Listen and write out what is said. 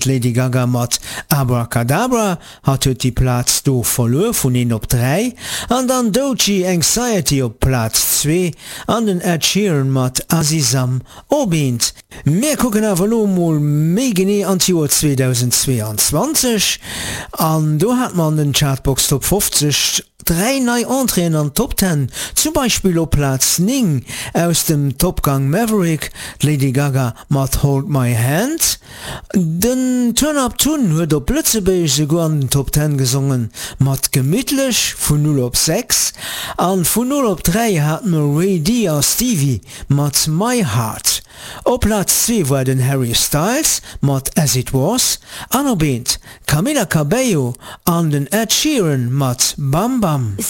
D'Lady Gaga mat Abracadabra, hatt huet déi Plaz do verluer vun 1 op 3, an dann Doechii Anxiety op Plaz 2 an den Ed Sheeran mat Azizam op 1. Mir kucken awer elo mol méi genee an d'Joer 2022 an do hat mer an den Chartbox Top 50 3 nei Entréeën an d'Top Ten, zum Beispill op Plaz 9 aus dem Top Gang Maverick d'Lady Gaga mat Hold My Hand. Den Turn Up Tun huet op Lëtzebuergesch souguer an den Top Ten gesongen, mat Gemittlech vun 0 op 6 an vun 0 op 3 hat mer Ray D a Stevie mat My Heart. Op Plaz 2 war den Harry Styles mat As It Was an op eent d'Camila Cabello an den Ed Sheeran mat Bam Bam.